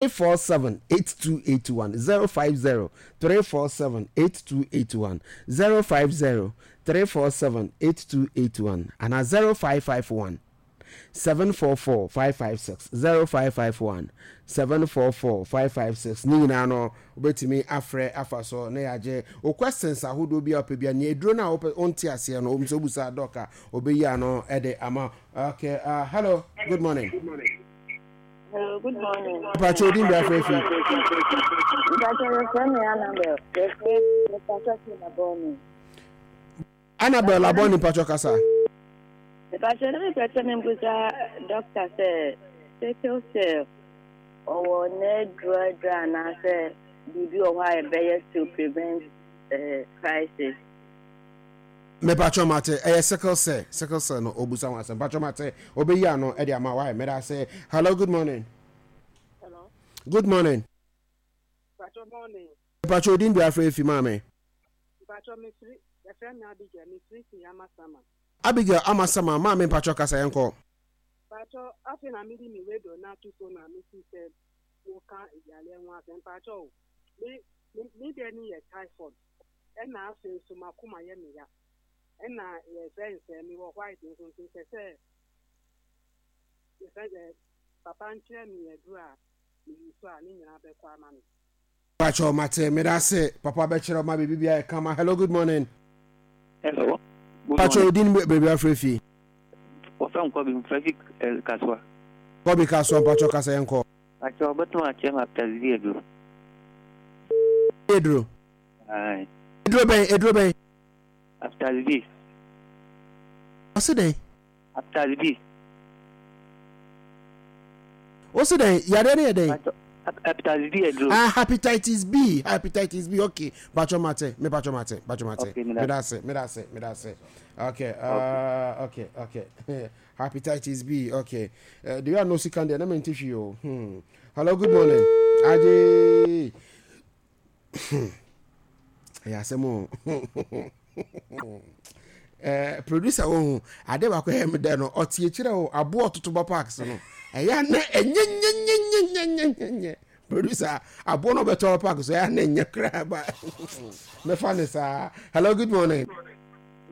347 8281 050 347 8281 050 347 8281 anaa 0551 744 556 0551 744 556 ne nyinaa no wobɛtumi afrɛ afa so na yɛagye wo questions ahodoɔ bi a wopɛ bia nea aduro no a wopɛ wonte aseɛ no wom sɛ wobusa dɔk a ɔbɛyi ano de ama okay uh, hello good morning Hello, good morning. Mpacho odin bia frɛ fi. Mpacho yɛfrɛ me Annabel. Yɛfrɛ Mpacho fi Labone. Annabel Labone mpacho kasa. Mpacho ne mepɛ sɛ membusa doctor sɛ sickle cell ɔwɔ n'aduro aduro anaasɛ biribi wɔ hɔ a ɛbɛyɛ to prevent uh, crisis. Mepatwɔ mate ɛyɛ sickle cell sickle cell no obusa ho asɛm patwɔ mate obeyi ano ɛde ama why meda ase hello good morning. Hello. Good morning. Patwɔ morning. Mepatwɔ odin bi afrɛ efi maame. Mpatwɔ mefiri yɛfrɛ me Abigail mefiri si Amasama. Abigail Amasama maame mpatwɔ kasa yɛn kɔ. Mpatwɔ afei na mede me radio no ato so na mesi sɛ woka yareɛ ho asɛm mpatwɔ o me me deɛ ne yɛ typhoid. Ɛna afei nso m'akoma yɛ me ya. Ɛna yɛfrɛ no sɛ mewɔ white nso nti mpɛ sɛ yɛfrɛ sɛ papa nkyerɛ me aduro a me use a ne nyinaa bɛkɔ ama me. Pacho mate medase papa bɛkyerɛ ma biribi biara yɛ kama hello good morning. Hello. Good Pacho morning. odin baabi afrɛ fi. Wɔfrɛ me Kɔbi mfrɛ fi eh, Kasoa. Kɔbi Kasoa mpacho kasa yɛn kɔ. Pacho wobɛtumi akyerɛ me hepatitis B aduro. Aduro. Eduro bɛn? Eduro bɛn? Hepatitis B. Ɔsi dɛn? Hepatitis B. Ɔsi dɛn? Yadeɛ no yɛ dɛn? Hepatitis B aduro. Ah, hepatitis B, hepatitis B. Okay, patro mate, me patro mate, patro mate. Okay, medase, medase, medase. Okay, uh, okay, okay. Hepatitis B, okay. Uh, do you know sika deɛ na mente hwee o. Hmm. Hello, good morning. Aje. ɛyɛ asɛm o eh, producer wɔ ho ade baako ɛyɛ me dɛ no ɔte akyirɛ o aboɔ ɔtoto ba parks no ɛyɛ ana ɛnyɛnyɛnyɛnyɛnyɛnyɛ producer aboɔ no ɔbɛtɔ ba park so ɛyɛ ana ɛnyɛ koraa ba mɛfa ne saa hello good morning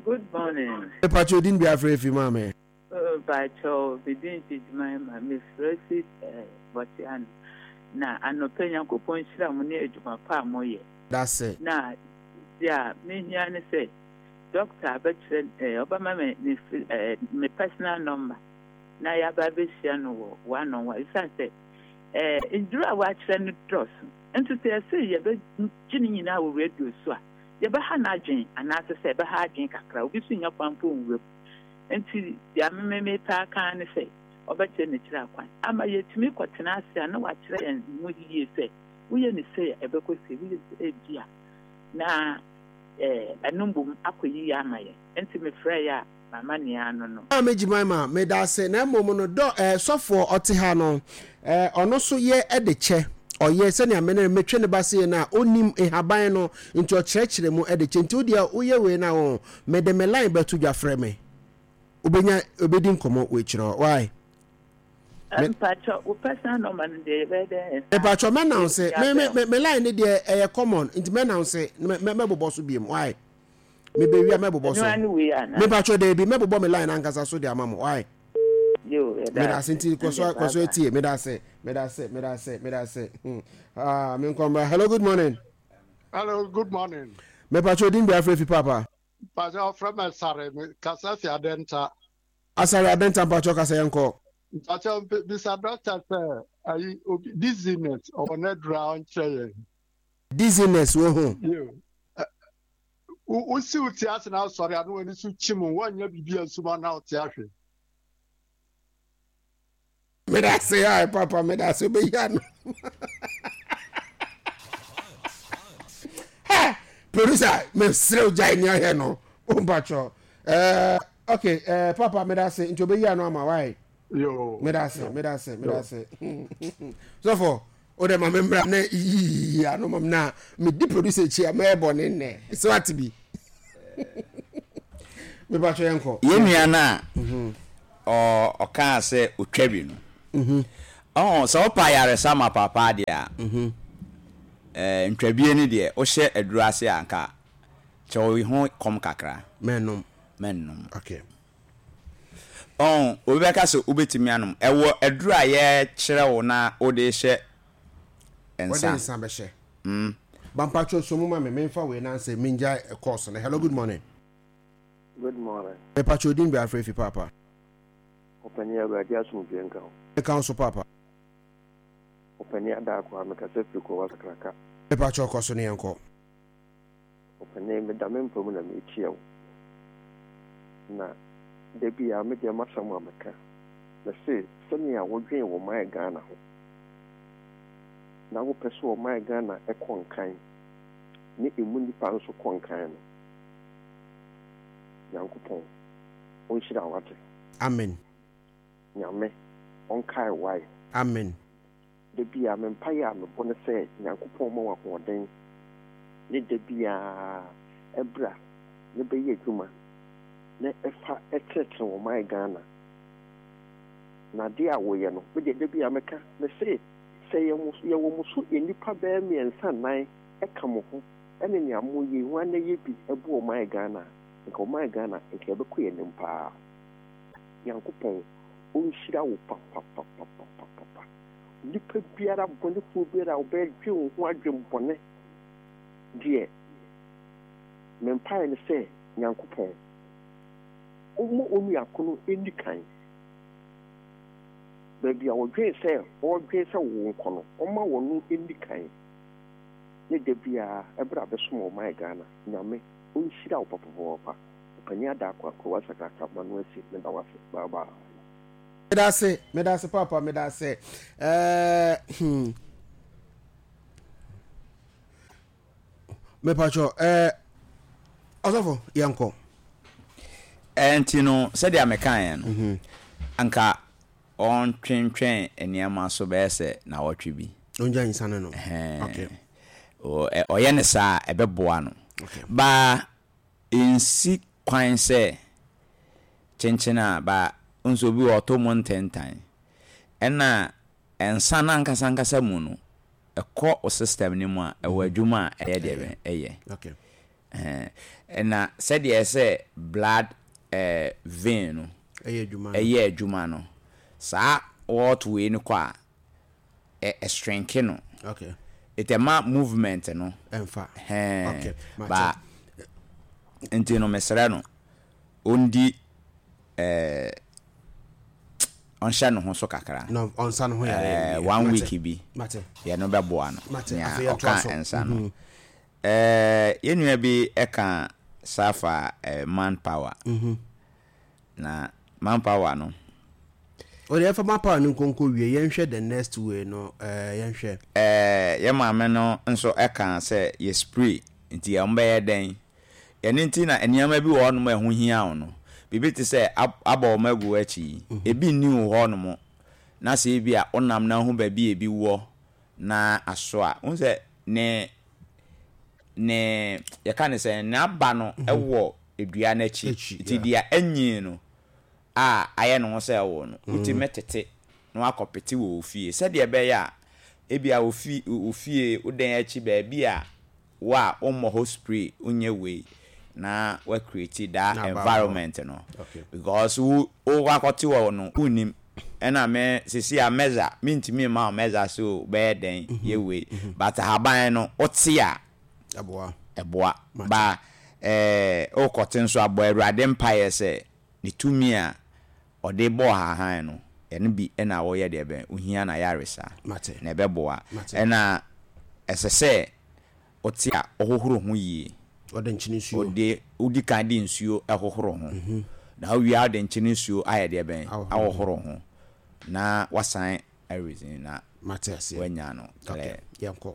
good morning mepatwa odin bi afrɛ fi maa me Mpakyɛw, me din de Jemima, mefrɛ fi Botswana. Na anɔpa yi, Nyankopɔn nhyira mo ne adwuma pa a moyɛ. Dase. Na dea mehia ne sɛ, doctor bɛkyerɛ eh, ɔbɛma me ne eh, me personal number na yɛaba abɛhyia no wɔ one on one. Esiane sɛ eh, nnuru a wɔakyerɛ no dɔɔso, nti sɛ yɛse yɛbɛgye ne nyinaa wɔ radio so a, yɛbɛha n'adwene anaasɛ sɛ ɛbɛha adwene kakra, obi nso nnya kwan mpo nwura mu. Enti deɛ me mepɛ aka ara ne sɛ ɔbɛkyerɛ n'akyiri akwan ama yɛatumi kɔtena ase a na wakyerɛ yɛn mu yie sɛ woyɛ no sei a ɛbɛkɔ sei, woyɛ no sei ebia na ɛno mmom akɔ yie ama yɛn. Enti mefrɛeɛ a m'amanneɛ ano no. Maame Jemima, medase, na mmom no dɔ eh, sɔfoɔ ɔte ha no eh, ɔno so yɛ de kyɛ, ɔyɛ sɛnea me ne metwe ne ba sei no a, ɔnim nhaban no, nti ɔkyerɛkyerɛ mu de kyɛ, nti wodeɛ woyɛ wei no a, oh, mede me line bɛto dwa frɛ me, wobɛnya, wobɛdi nkɔmmɔ wɔ akyire hɔ, why? Me, Mpakyɛ, wo personal number no deɛ yɛbɛyɛ dɛn yɛn nsa mepatwɔ mɛnanse, me, me, abɛn me, me line no deɛ ɛyɛ common, nti mɛnanse, mɛ, mɛ, mɛbobɔ so biom, why? Mebɛwie a mɛbobɔ Ɛno so. ara ne wei anaa? Mepatwɔ daabi, mɛbobɔ me line ankasa so de ama mo, why? Yo, yɛda Meda ase ase. nti kɔ so Ɛndeɛ kɔ bye so bye. etie. Meda ase, meda ase, meda ase, meda ase. Hmm. Ah, me nkɔmbra. Hello, good morning. Hello, good morning. Mepatwɔ odin bi afrɛ fi papa. Mpakyɛ ɔfrɛ me Asare, me kasa fi Adenta. Asare Adenta mpakyɛ kasa yɛn kɔ. Mpakyɛ bisa doctor sɛ ayi obi dizziness ɔwɔ n'aduru a ɔnkyerɛ yɛn. Dizziness wo ho. Yo. Wosi wo ti ase na asɔre a na w'ani so kyim wɔnyɛ biribi a nsuma na ɔte ahwe. Meda ase ai papa meda ase wobɛyi ano. Ha producer mesrɛ wo gyae nea ɔyɛ no wompakyɛ eh, ok eh, papa meda ase nti wobɛyi ano ama wae Yo. meda ase meda ase meda ase sɔfo wo dɛ ma me mmra na yiyi ano ma me na medi producer akyi a mɛyɛ bɔne nnɛ sɛ wate bi mepakyɛ yɛnkɔ Yɛn nua no a mhm. ɔkaa sɛ ɔtwa wi no mhm. Ɔho, sɛ wopɛ ayaresa ma papa deɛ a, ɛɛ, ntwabie no deɛ, wohyɛ aduro ase a, nka kyɛ wo ho kɔm kakra. Mɛnnom. Mɛnnom. Okay. Ɔho, obi bɛka sɛ wobɛtumi anom. Ɛwɔ aduro a yɛkyerɛ wo na wode hyɛ nsa. Wode nsa bɛhyɛ. Mm. Ba mpakyɛw so mu ma me, memfa wei na ansɛ mengyae course no. Hello, good morning. Good morning. Mepakyɛw din bɛ afrɛ fi paapa. Ɔpanin Awurade asomdwoeɛ nka wo. Nka wo so paapa. Ɔpanin Adaako a mekasa firi Kowa Sakraka. Mepakyɛw kɔ so ne yɛnkɔ. Ɔpanin meda me mpa mu na meretie wo. Na da biara me deɛ m'asɛm a meka, mese sɛnea wodwen wɔ man Ghana ho na wopɛ sɛ ɔman Ghana kɔ nkan ne emu nnipa nso kɔ nkan no, Nyankopɔn ɔnhyira wo wate. Amen. Nyame ɔnkae wo wai. Amen. Da biaa me mpaeɛ a mebɔ ne sɛ Nyankopɔn mma wo ahoɔden ne da biaa bra ne bɛyɛ adwuma ne fa tenetene wɔ man Ghana na adeɛ a woyɛ no me deɛ da biaa meka mese sɛ yɛwɔ mo so nnipa bɛyɛ mmiɛnsa nnan ka mo ho ne nea moyɛ yi hwan na ɛyɛ bi boa ɔman Ghana a nka ɔman Ghana nka yɛbɛkɔ yɛn anim paa. Nyankopɔn ɔnhyira wo papapapapapapa. Nipa biara bɔnefoɔ biara a ɔbɛdwen wo ho adwen bɔne deɛ me mpaeɛ ne sɛ Nyankopɔn ɔmma onua ko no nni kan. Baabi a ɔdwen sɛ ɔredwen sɛ wo nkɔ no ɔmma ɔno nni kan ne da biara ɛberɛ a bɛsom ɔman Ghana. Nyame ɔnhyira wo papapapapa Ɔpanin Adarko Akoa Sakraka Mano Asi meda wo ase bye bye. Medase, medase papa, medase. Eh, hmm. Mepacho, eh, ɔsɔfo, yɛnkɔ. Eh, nti no, sɛdeɛ mekaeɛ no, mhm. anka ɔntwentwɛn nneɛma so bɛyɛ sɛ nawɔtwe bi. Ɔngya nsa no no. Okay. Ɔyɛ no saa a, ɛbɛboa no. Baa ɛnsi kwan sɛ kyenkyen a ba wohu sɛ obi wɔ hɔ ɔtɔ mu ntentan. Ɛna nsa no ankasa ankasa mu no, ɛkɔ wo system no mu a, ɛwɔ adwuma a ɛyɛ deɛ bɛn? Ɛyɛ. Ɛna sɛdeɛ ɛsɛ blood vein no ɛyɛ adwuma no, saa wart wei no kɔ a, ɛ shrinke no. Okay. It ɛma movement no. Ɛnfa. Hɛn. Okay. Ba nti no mesrɛ no ɔndi ɛɛ ɔnhyɛ ne ho so kakra. No ɔnsa ne ho yare. Ɛɛ one week bi. Mate. Yɛ no bɛboa no. Mate. Nea Afei yɛntoa ɔka so. nsa no. Ɛɛ yɛn nua bi ɛka saa fa ɛɛ manpower. Na manpower no. O deɛ yɛmfa manpower no nkonko wie yɛnhwɛ the next way no ɛɛ yɛnhwɛ. Ɛɛ yɛn maame no nso ɛka sɛ yɛ spray nti wɔn bɛyɛ dɛn? Ɛno nti na nneɛma bi wɔ hɔnom a ɛho hia wo no, biribi te sɛ abɔ wɔn agu w'akyi yi, ebi nni wo hɔnom na sɛ ebi a wonam na wohu baabi a ebi wɔ na aso a, wohu sɛ ne ne yɛka ne sɛ n'aba no wɔ dua no akyi. Nti deɛ anyin no a ayɛ ne ho sɛ ɛwo no, wotumi tete na wakɔpete wɔ wo fie sɛdeɛ ɛbɛyɛ a ebia wo fi wo fie wo dan akyi baabi a wo a wommɔ hɔ spray wonyɛ wei na wa create that environment no because wo wokɔ akɔte hɔ no wonnim ɛna me sisi a measure mentumi mma wo measure sɛ bɛyɛ dɛn yɛ wei but ahaban no wote a Ɛboa. Ɛboa. Ba eh, wokɔte nso a, bɔ Awurade mpaeɛ sɛ ne tumi a ɔde bɔɔ ahahan no, ɛno bi na woyɛ deɛ bɛn, wohia n'ayaresa. Mate. Na ɛbɛboa. Mate. Ɛna ɛsɛ sɛ wote a, wohohoro ho yie. Wode nkyene nsuo. Wode, wodi kan de nsuo hohoro ho. Na wowie a, wode nkyene nsuo ayɛ deɛ bɛn, ahohoro ho. Na wasan areason na Mate aseɛ. wanya no Okay, clear. yɛnkɔ.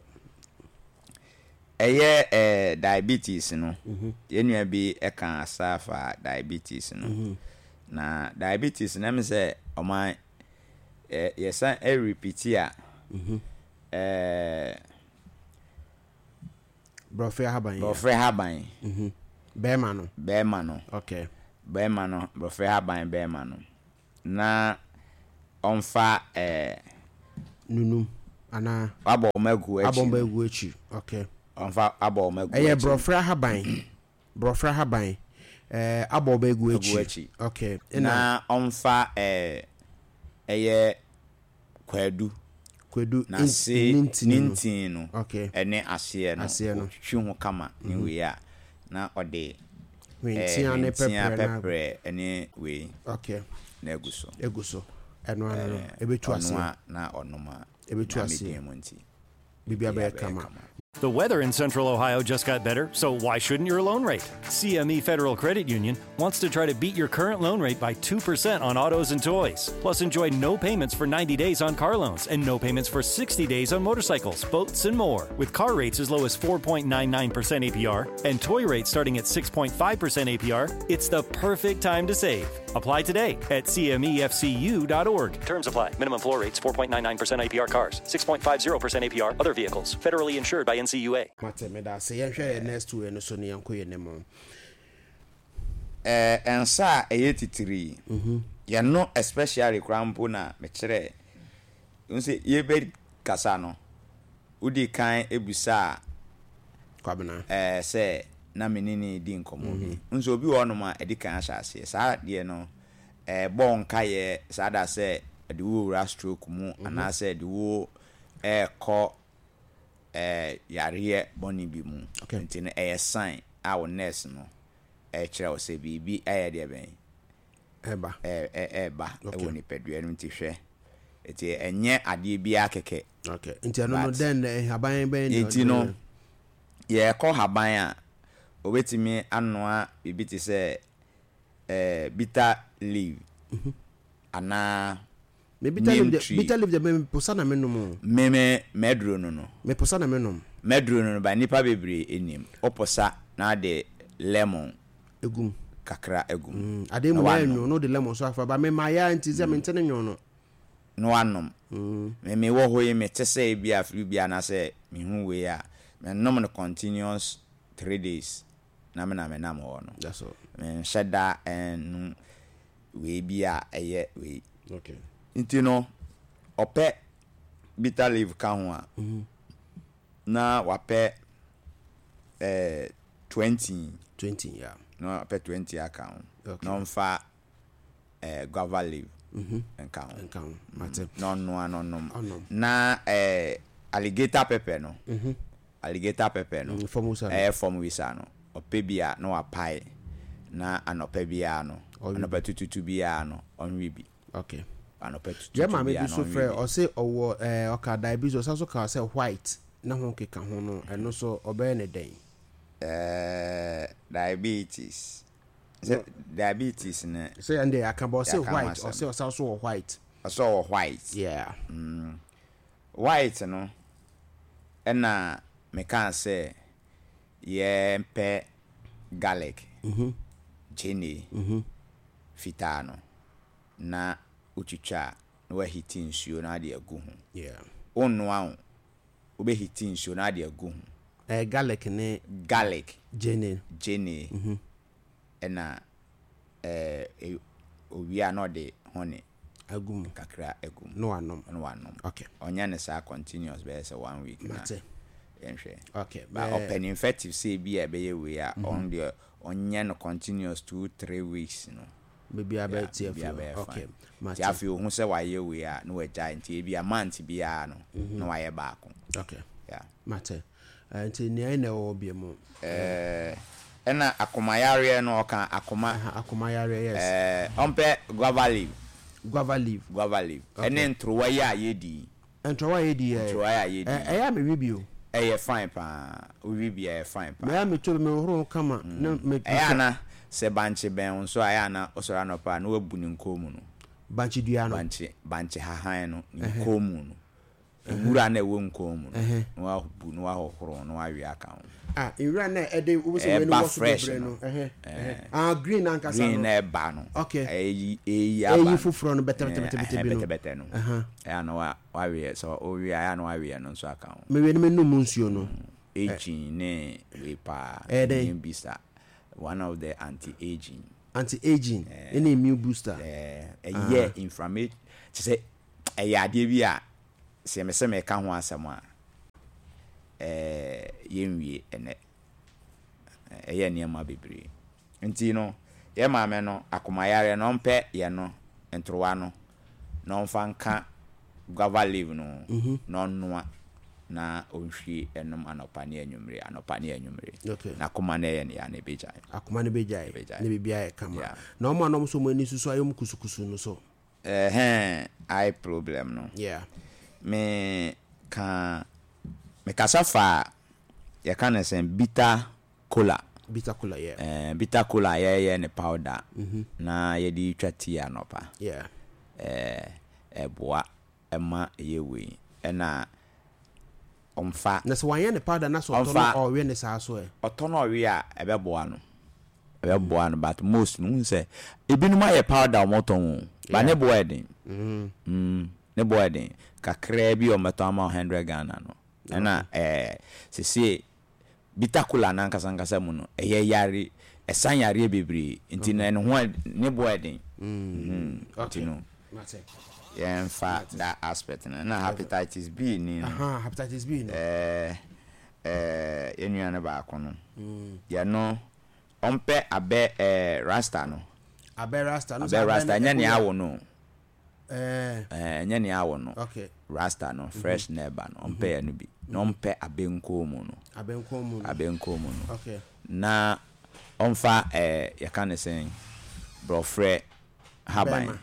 Ɛyɛ eh diabetes no, yɛn nua bi ka asa fa diabetes no. Na diabetes no ɛmi sɛ ɔman yɛ yɛsan repeat a, eh. Borɔfrɛ ahaban yi. Borɔfrɛ ahaban. Bɛɛma no. Bɛɛma no. Okay. Bɛɛma no, borɔfrɛ ahaban bɛɛma no. Na ɔmfa eh. Nunum anaa? Wabɔ wɔn agu akyi. Abɔ wɔn agu akyi. Okay. Ɔmfa abɔ wɔn agu akyi. Ɛyɛ borɔfrɛ ahaban. Borɔfrɛ ahaban. Ɛɛ abɔ wɔn agu akyi. Agu akyi. Okay. Na ɔmfa ɛɛ ɛyɛ kwadu. Kwadu n'ase ne ntini ne no. ntini no. Okay. Ɛne aseɛ no. Aseɛ no. Ɔtwitwi ho kama ne wei a na ɔde ɛɛ Hwentia ne hwentia pɛprɛ na. pɛprɛ ne wei. Okay. Na agu so. Egu so. Ɛno ano no. Ɛbɛtu aseɛ. Ɔnoa na ɔnom a. Ɛbɛtu Nyame aseɛ. din mu nti. Biribiara bɛyɛ kama. The weather in Central Ohio just got better, so why shouldn't your loan rate? CME Federal Credit Union wants to try to beat your current loan rate by 2% on autos and toys. Plus, enjoy no payments for 90 days on car loans and no payments for 60 days on motorcycles, boats, and more. With car rates as low as 4.99% APR and toy rates starting at 6.5% APR, it's the perfect time to save. Apply today at cmefcu.org. Terms apply. Minimum floor rates 4.99% APR cars, 6.50% APR other vehicles. Federally insured by NCUA. Mate, meda ase. Yɛnhwɛ yɛn next wei no so na yɛnkɔ yɛn anim. Eh, nsa a ɛyɛ titiri yi, yɛno especially koraa mpo na mekyerɛ, wohu sɛ yɛbɛ kasa no, wodi kan bisaa Kwabena. Eh, sɛ na me ne no redi nkɔmmɔ bi. Wohu sɛ obi wɔ hɔnom a, ɛdi kan ahyɛ aseɛ. Saa adeɛ no, ɛbɔ wo nkaeɛ saa da sɛ ɛde wo rewura stroke mu anaasɛ ɛde wo rekɔ eh, yareɛ bɔne bi mu. Nti no, ɛyɛ sign a wo nurse no ɛrekyerɛ wo sɛ biribi ayɛ deɛ bɛn? Ɛreba. Ɛreba wɔ nipadua no mu nti hwɛ. Nti ɛnyɛ adeɛ biara kɛkɛ. Okay. Nti ɛno no dɛn na nhaban bɛn na Nti no yɛkɔ haban a, obetumi anoa biribi te sɛ eh, bitter leaf mhm. anaa Me bitter leaf de, bitter leaf de me posa na me nom o. Me me mɛduro no no. Me posa na me nom. Mɛduro no no ba nipa bebree enim. O posa na de lemon. Egum. Kakra egum. Mm, ade mu na enyo no de lemon so afa ba me ma ya nti sɛ me nte ne nyo no. Na wanom. Me me wɔ hɔ yi me te sɛ ebi a flu bi anaasɛ me hu wei a me nom no continuous three days na me na me nam hɔ no. That's all. Me nhyɛ da ɛnum wei bi a ɛyɛ wei. Okay. Nti no ɔpɛ bitter leaf ka ho a na wapɛ eh, 20. 20 yeah. Na wapɛ 20 aka ho. Okay. Na ɔmfa eh, guava leaf nka ho. Nka ho. Mate. Na ɔnoa na ɔnom. Ɔnom. Na eh, alligator pepper no. Alligator pepper no. Fam wisa no. Ɛyɛ fam wisa no. Ɔpɛ bi a na wapae na anɔpa biara no, anɔpa tututu biara no, ɔnwe bi. Okay. Anɔpa tututu Yɛ maame bi biara no so ɔnwe frɛ bi. ɔse ɔwɔ ɛɛ ɔka diabetes ɔsan so ka sɛ white ne ho keka ho no ɛno so ɔbɛyɛ ne dɛn? Ɛɛ diabetes. Sɛ diabetes no. Sɛ ɛn deɛ yɛaka ba ɔse Yɛaka ho white asɛm. ɔse ɔsan so wɔ white. Ɔse ɔwɔ white. Yeah. Mm. White no ɛna mekaa sɛ yɛmpɛ garlic, gyeene fitaa no na wotwitwa a na woahiti nsuo na wode agu ho. Wonnoa o, wobɛhiti nsuo na wode agu ho. Ɛyɛ garlic ne Garlic, gyeene. gyeene ɛna ɛɛ owie a na ɔde honey Agu mu. kakra agu mu. Na wanom. Na wanom. Okay. Ɔnyɛ no saa continuous bɛyɛ sɛ one week na Mate. yɛnhwɛ. Okay. Ba Bɛɛ ɔpɛ no infective sɛ ebi a ɛbɛyɛ wei a, ɔno deɛ ɔnyɛ no continuous 2, 3 weeks no. Biribiara Yeah, bɛyɛ te afiri biribiara hɔ. bɛyɛ Okay. fine. Mate. Nti afei ohu sɛ wayɛ wei a na wagyae nti ebi a month biara no na wayɛ baako. Okay. Yeah. Mate. Nti nea ɛna ɛwɔ hɔ bio mu. Ɛɛ ɛna akoma yareɛ no ɔka akoma. Aha, akoma yareɛ yes. Ɛɛ ɔmpɛ guava leaf. Guava leaf. Guava leaf. Okay. Ɛne ntorowa yi a yɛdi yi. Ntorowa a yɛdi yi ɛ. Ntorowa yi a yɛdi yi. Ɛyɛ a mewe bi o. Ɛyɛ fine paa. Wowe bi a ɛyɛ fine paa. Mɛyɛ a metɔ bi mehohoro ho kama na me. Ɛyɛ a na sɛ bankye bɛn wo nso a ɛyɛ a na wosɔre anɔpa a na wabu ne nkɔn mu no. Bankye dua no. Bankye bankye hahan no ne nkɔn mu no. Nwura no a ɛwɔ nkɔn mu no na wabu na wahohoro na wawe aka ho. Ah, nwura no a ɛde wo sɛ wei no Ɛba wɔ so fresh bebree no. no. Ɛhɛ, ɛhɛ. Ah, green ankasa no. Green na ɛba no. Okay. Ɛyi ɛyi aba Ɛyi no. foforɔ no bɛtɛbɛtɛbɛtɛ bi no. Bɛtɛbɛtɛ no. Ɛhɛ. Ɛyɛ a na wa wawe sɛ wowe a ɛyɛ a na wawe ɛno nso aka ho. Mewe no menom nsuo no. Aging ne wei paa. Ɛyɛ dɛn? Immune booster. One of the anti-aging. Anti-aging ɛne immune booster. Ɛɛ ɛyɛ inflammation kyerɛ sɛ ɛyɛ adeɛ bi a. Sɛ mese meka ho asɛm a, ɛɛ yɛnwie ɛnnɛ. Ɛyɛ nneɛma bebree. Nti no, yɛn maame no, akomayareɛ no, ɔmpɛ yɛn no, ntorowa no, na ɔmfa nka guava leaf no ho, na ɔnnoa, na ɔnhwie nnom anɔpa ne anwummere, anɔpa ne anwummere. Na akoma no ɛyɛ no ya no, ɛbɛgyae. Akoma no bɛgyae, Ɛbɛgyae. na biribiara ayɛ kama. Yeah. Na wɔn a na wɔn nso wɔn ani susu ayɛ wɔn kusukusu no so. Ɛhɛn, eye problem no. Yeah. Me ka, me kasa fa yɛka no sɛn, bitter kola. Bitter kola, yeah. Eh, bitter kola a yɛyɛ ne powder na yɛde twa tea anɔpa. Yeah. Eh, ɛboa ɛma ɛyɛ wei. Ɛna ɔmfa. Na sɛ wanyɛ ne powder na sɛ ɔtɔ no ɔwe ne saa so ɛ? Ɔtɔ no ɔwe a ɛbɛboa no. Ɛbɛboa no but most no wohu sɛ ebinom ayɛ powder a wɔtɔn o but ne boɔ yɛ den. Mm, ne boɔ yɛ den. Kakraa bi a wɔbɛtɔn ama wo hundred Ghana no. Ɛna ɛɛ sesie bitter kola no ankasa ankasa mu no ɛyɛ yare ɛsa yareɛ bebree nti no ɛno ho ne boɔ yɛ den. Nti no yɛnfa that aspect no. Ɛna hepatitis B ni no. Aha, hepatitis B no. Ɛɛ ɛɛ yɛn nua no baako no. Yɛ no ɔmpɛ abɛ ɛɛ rasta no. Abɛ rasta no. Abɛ rasta ɛnyɛ nea awo no. Ɛɛ. Ɛɛ ɛnyɛ nea awo no. Okay. Rasta no fresh na ɛba no ɔmpɛ yɛ no bi. Na ɔmpɛ abɛ nkɔn mu no. Abɛ nkɔn mu no. Abɛ nkɔn mu no. Okay. Na ɔmfa ɛɛ yɛka ne sɛn borɔfrɛ haban. Bɛɛma.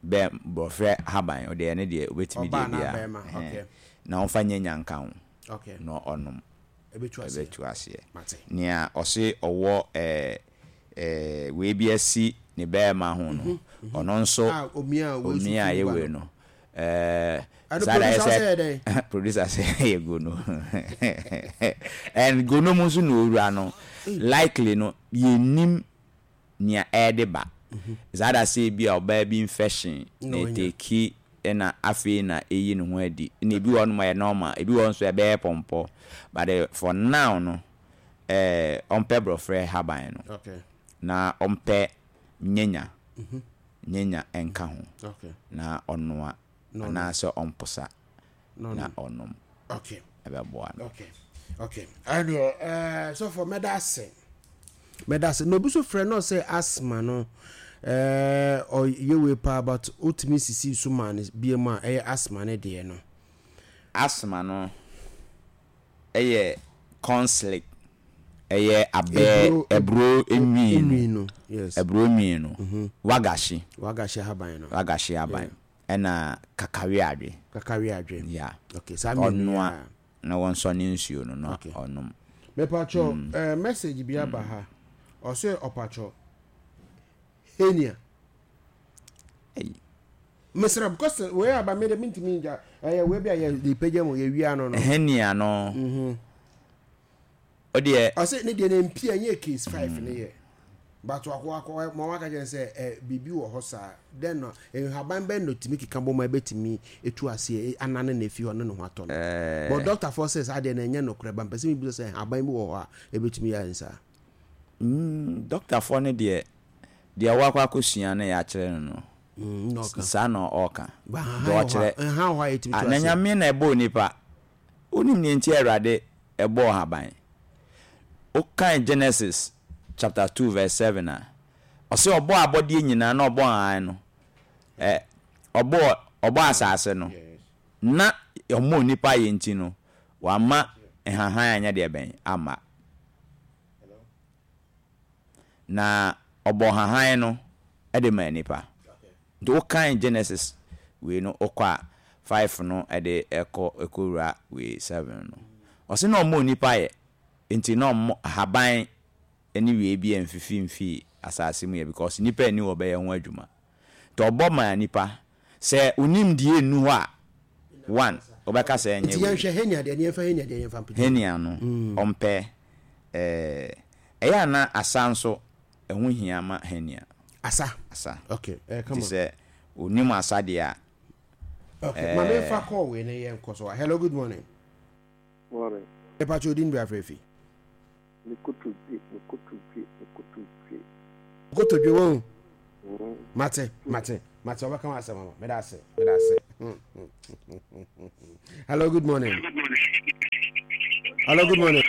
Bɛ borɔfrɛ haban ɔde ɛno deɛ obetumi Ɔbaa deɛ anaa biara. bɛɛma okay. Na ɔmfa nyɛ nyanka ho. Okay. Na ɔnom. Ɛbɛtu aseɛ. Ɛbɛtu aseɛ. Mate. Nea ɔse ɔwɔ ɛɛ ɛɛ wei bi asi ne bɛɛma ho no, ɔno nso A omia a wei so omia a firi ɛyɛ ba wei no. no ɛɛ Ɛno saa da yɛ producer sɛ sɛ yɛ dɛn? producer sɛ ɛyɛ gono. And gono mu nso na owura no likely no yɛnnim nea ɛde ba. Saa da sɛ ebi a ɔbaa bi infection na ɛteki na afei na ɛyi ne ho adi. Na ebi wɔ hɔ nom a ɛyɛ normal, ebi wɔ hɔ nso ɛbɛyɛ pɔmpɔ. But eh, for now no, eh, ɔmpɛ borɔfrɛ haban no. Na ɔmpɛ nyanya, nyanya nka ho. Na ɔnoa anaasɛ ɔmposa na ɔnom. Okay. Ɛbɛboa no. Okay. Okay. Ɛneɛ ɛɛ sɔfo mɛda ase. Mɛda ase. Na obi so frɛ no sɛ asthma no ɛɛ ɔyɛ wei paa but wotumi sisi so maa no bie mu a ɛyɛ asthma no deɛ no. Asthma no ɛyɛ corn slick ɛyɛ abɛ aburo nwi no. Yes. Aburo nwi no. Wagahye. Wagahye ahaban no. Wagahye ahaban. Ɛna kakaweadwe. Kakaweadwe. Yeah. Okay, saa mmienu yi Ɔnoa ara. na wɔnsɔ ne nsuo no na Okay. ɔnom. Mepakyɛw, eh, message bi aba ha. Ɔse ɔpakyɛw, hernia. Ei. Mesrɛ, because wei aba me de mentumi ngya. Ɛyɛ wei bi a yɛ de pagya mu, yɛwia no no. Hernia no. Ɔdeɛ. Ɔse ne deɛ no mpia nyɛ case 5 ne yɛ. But wakɔ wakɔ ma waka kyerɛ sɛ ɛ biribi wɔ hɔ saa. Dɛn no nhaban bɛn na otumi keka bɔ mu a ebetumi etu aseɛ anane na efi hɔ ne ne ho atɔ no. But doctor foɔ sɛ saa deɛ no ɛnyɛ nokorɛ ba mpɛ sɛ mebisa sɛ nhaban bi wɔ hɔ a ebetumi yɛ nsaa. Doctor foɔ no deɛ deɛ wakɔ akɔsua no yɛakyerɛ no no saa na ɔka. Deɛ ɔkyerɛ. Nhaban wɔ hɔ a yɛtumi tu Na aseɛ. Nyame na ɛbɔɔ nipa. Wonim nea nti a Awurade bɔɔ nhaban? Wokan Genesis chapter 2 verse 7 a, ɔse ɔbɔɔ abɔdeɛ nyinaa na ɔbɔɔ nhahan no, ɛ, ɔbɔɔ, ɔbɔɔ asase no, na ɔmmɔɔ nnipa yɛ nti no, wamma nhahan anyɛ deɛ bɛn? Amma. Na ɔbɔɔ nhahan no de maa nnipa. Nti wokan Genesis wei no wokɔ a, 5 no de kɔ kɔwura wei 7 no. Ɔse na ɔmmɔɔ nnipa yɛ nti na ɔmmɔ ahaban ne wei bi amfifi mfii asase mu yɛ because nnipa nni hɔ bɛyɛ ho adwuma. Nti ɔbɔ maa nnipa. Sɛ wo nimdeɛ nnu hɔ a, one, wobɛka sɛ ɛnyɛ Nti wei. yɛnhwɛ hernia deɛ, yɛmfa hernia deɛ yɛmfa mpagya mu. Hernia no, ɔmpɛ ɛɛ, ɛyɛ a na asa nso ɛho hia ma hernia. Asa? Asa. Okay, ɛɛ come Nti on. sɛ onim asa deɛ a, Okay, ma memfa call wei na yɛnkɔ so. Hello, good morning. Morning. Mepa kyɛw din bra frɛ fi. Me kotodwe, me kotodwe, me kotodwe. Kotodwe wɔn. Mate, mate, mate. Ɔbɛka wɔn asɛm ama. Meda ase, meda ase. Hello, good morning. Hello, good morning.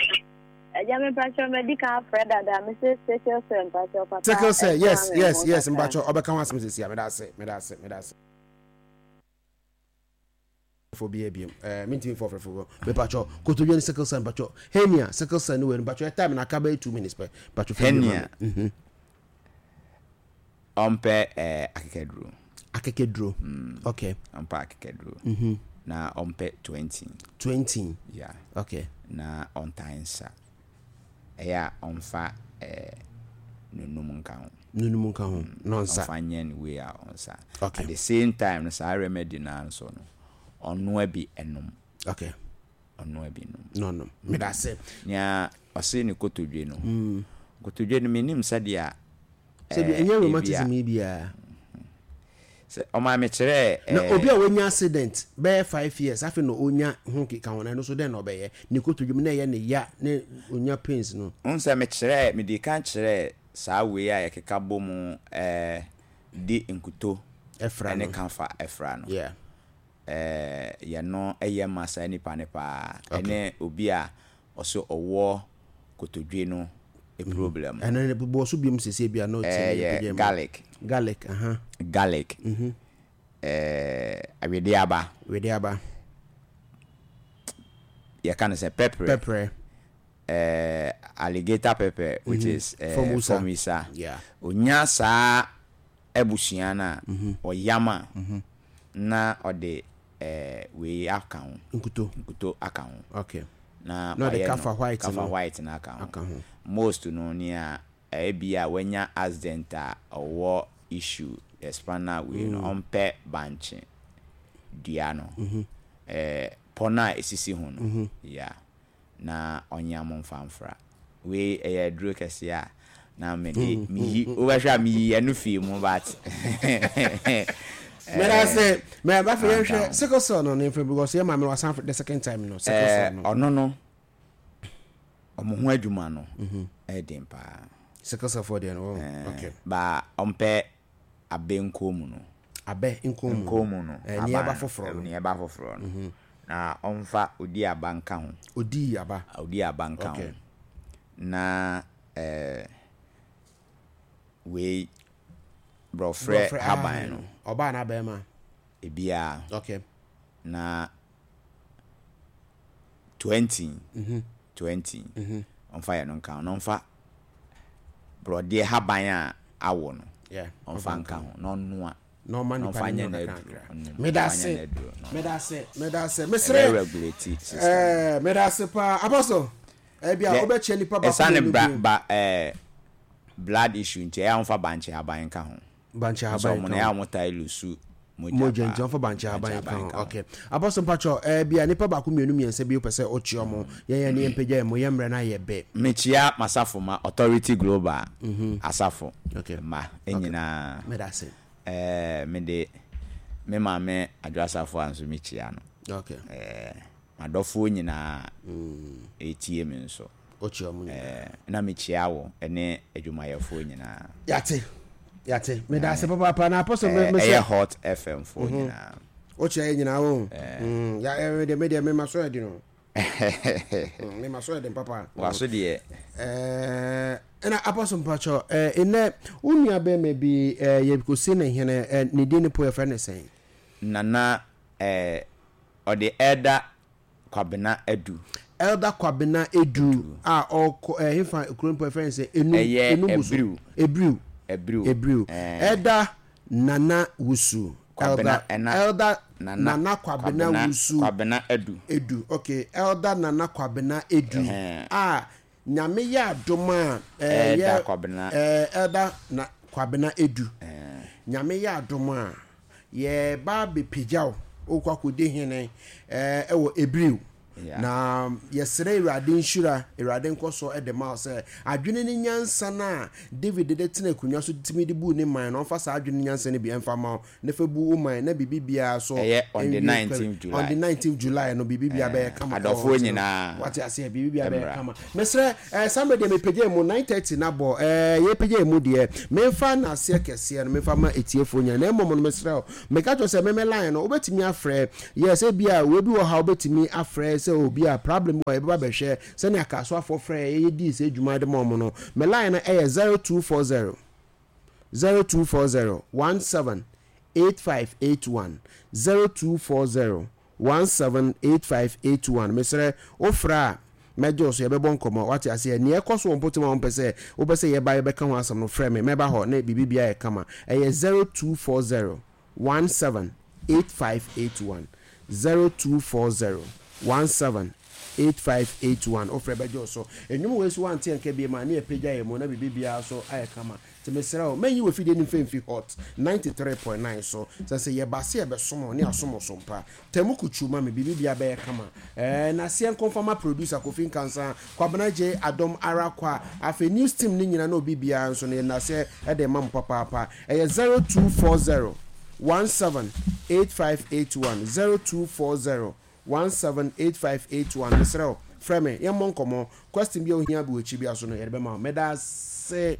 Ẹja mi mpatsọ mẹ di kan afrẹ dada mi se sickle cell mpatsọ papa. Sickle cell, yes, yes, yes mpatsọ ọbẹ kan wá sí mi sisi a mi da ase mi da ase mi da ase. Fo bi ebiem ɛɛ mi ntumi fɔ fɛfɛ fo mepatwɔ kotodwe ne sickle cell mpatwɔ hernia sickle cell ne wei mpatwɔ ɛ time na aka bɛyɛ 2 minutes pɛ mpatwɔ fɛ Hernia. Ɔmpɛ akekaduro. Akekaduro. Okay. Ɔmpɛ akekaduro. Na ɔmpɛ 20. 20. Yeah. Okay. Na ɔntaa nsa. Ɛyɛ a ɔmfa nunum nka ho. Nunum nka ho. Na ɔnsa. Ɔmfa nyɛ ne wei a ɔnsa. Okay. At the same time no, saa remedy naa nso no, ɔnoa bi ɛnom. Okay. Ɔnoa bi nom. Na ɔnom. Meda ase. Nea ɔse ne kotodwe no. Kotodwe no menim sɛdeɛ Sɛ bi ɛnyɛ rheumatism yi biara. Sɛ ɔmaa me kyerɛɛ. Na obi a wanya accident bɛyɛ 5 years afei na onya ho keka ho no, ɛno nso dɛn na ɔbɛyɛ? Ne kotodwe mu na ɛyɛ ne ya ne onya pains no. Wohu sɛ mekyerɛɛ, medii kan kyerɛɛ saa wei a yɛkeka bɔ mu de nkuto Ɛfra ne no. kafa ɛfra no. Yɛno ɛyɛ ma saa nipa no paa. Ɛne obi a ɔsɛ ɔwɔ kotodwe no problem. Ɛno ne bɔ so biom sese bi a na ɔtie ne Ɛyɛ pagya mu. Garlic. Garlic, aha. Garlic. Awedeaba. Wedeaba. Yɛka no sɛ pɛprɛ. Pɛprɛ. Alligator pepper, which is Formosa. Formosa. Onya saa abusua no a, ɔyam a, na ɔde wei aka ho. Nkuto. Nkuto aka ho. Na Na ɔde wayɛ no kafa white kafa no. white no aka ho. Aka ho. Most no nea ebi a wanya accident a ɔwɔ issue, the spinal wei no, ɔmpɛ bankye dua no. Pɔ no a esisi ho no. Yeah. Na ɔnyam mfa mfra. Wei ɛyɛ aduro kɛseɛ a na mede meyi wobɛhwɛ a meyi ɛno fii mu, but Mɛda sɛ mɛ ba fɛ yɛnhwɛ sickle cell no ne mfɛ because yɛ maame no wasan the second time no, sickle cell no. Ɔno no ɔmo ho adwuma no ɛyɛ den paa. Sickle cell fɔ deɛ no, oh, okay. Ba ɔmpɛ abɛ nkomu no. Abɛ nkomu. Nkomu no. Nea ɛba foforɔ no. Nea ɛba foforɔ no. Na ɔmfa odi aba nka ho. Odi aba. Odi aba nka ho. Na wei borɔfrɛ haban no. Ɔbaa na bɛrima. Ebiara. Na 20 20 ɔmfa yɛ no nka ho na ɔmfa borɔdeɛ haban a awo no ɔmfa nka ho na ɔnoa. Na ɔma na nipa ɔmfa ne nyɛ no n'aduro. kakra. Ɔnom, Meda ɔmfa nyɛ ase. n'aduro na Meda ase. Meda ase. ɛbɛ Mesrɛ. regulate system. Meda ase paa. Apostle. Ɛbi a wobɛkyɛ nipa baako Ɛsane mmienu bra bi. ba blood issue nti ɛyɛ a wɔmfa bankye haban nka ho. Bankye Nso haban ɔmo no nka ɛyɛ a ho. wɔn taa lose mogya Mogya nti paa. ɔmfa bankye haban Bankye nka haban ho. nka ho. Okay. Apostle, mpakyɛ bi a nipa baako mmienu mmiɛnsa bi wopɛ sɛ ɔkyia ɔmo. Yɛn yɛn ne yɛn mpagya yɛn mo yɛn mmerɛ no ayɛ bɛ. Mekyia m'asafo ma Authority Global asafo mma nyinaa. Meda ase. Mede me maame Adwo Asafo a nso mekyia no. M'adɔfoɔ nyinaa ɛtie me nso. Wokyia ɔmo nyinaa. Na mekyia wo ne adwumayɛfoɔ nyinaa. Yate. Yate. Meda ase papaapa na Apostle me Ɛyɛ Hot FM foɔ nyinaa. Wokyia yɛ nyinaa wo. Ya me deɛ me ma so ɛdi no. Me ma so ɛdi papa. Waso deɛ. Ɛna Apostle, mpakyɛ ɛnɛ wo nua bɛrima bi yɛ kɔsi ne hene, ne din ne po yɛfrɛ ne sɛn? Nana ɔde Elder Kwabena Adu. Elder Kwabena Edu a ɔkɔ hefa kuro mpo yɛfrɛ ne sɛ Enum? Ɛyɛ Enum so. Ebiriw. Ebiriw. Ebiriw. Ebiriw. Elder Nana Wusu. Kwabena Elder ɛna Elder Nana Nana Kwabena Kwabena Wusu. Kwabena Adu. Edu. Okay. Elder Nana Kwabena Edu a Nyame yɛ adom a Elder yɛ Kwabena. Elder na Kwabena Edu. Nyame yɛ adom a yɛba abɛpagya wo wokɔ akɔdi hene ɛwɔ Ebiriw. Na yɛsrɛ Awurade nhyira, Awurade nkɔsoɔ de ma wo sɛ adwene ne nyansa no a David de tena akonnwa so tumi de buu ne man no, ɔmfa saa adwene ne nyansa no bi mfa ma wo na fa bu wo man na biribi biara so Ɛyɛ on the nwie pɛ. 19th July. On the 19th July no biribi biara bɛyɛ kama ɛwɔ hɔ Adɔfoɔ nti no, nyinaa wate aseɛ, biribi biara bɛyɛ mmra. kama. Mesrɛ, eh, saa mmerɛ deɛ mepagya mu 9:30 na bɔ, eh, yɛpagya mu deɛ, memfa nnaseɛ kɛseɛ no memfa ma atiefoɔ nyinaa, na mmom no mesrɛ wo, Meka kyerɛ wo sɛ meme line no wobɛtumi afrɛ, yes ebia wei bi wɔ ha wobɛtumi afrɛ sɛ obi a problem bi wɔ yɛbɛba bɛhwɛ sɛnea Kasoafoɔ frɛ yɛ yɛdii sɛ adwuma de ma wɔn no. Me line no ɛyɛ 0240 0240 17 8581 0240 178581 mesrɛ wofrɛ a mɛgye wo so yɛbɛbɔ nkɔmmɔ wate aseɛ nea ɛkɔ so wɔ mpɔtam a wompɛ sɛ wopɛ sɛ yɛba yɛbɛka ho asɛm no frɛ me mɛba hɔ ne biribi biara yɛ kama ɛyɛ 0240 178581 0240 178581 wofrɛ bɛgye wo so nnwom wei so wante ɛnka bie ma ne yɛpagya yɛ mu na biribi biara so ayɛ kama Nti mesrɛ wo, mɛnyi w'afidie no mfa mfi Hot 93.9 so. Sɛ sɛ yɛba sɛ yɛbɛsom wo ne asom wo so mpa. Tamu kutuu ma me, biribi biara bɛyɛ kama. Ɛɛ, naseɛ nko mfa ma producer Kofi Nkansah, Kwabena Gyei, Adom ara kwa. Afei news team no nyina ne obi biara nso no, yɛde naseɛ de rema mo papaapa. Ɛyɛ 0240 17 8581, 0240 178581 mesrɛ wo frɛ me yɛmmɔ nkɔmmɔ question bi a wohia bi wɔ akyiri bi aso no yɛde bɛma wo meda ase.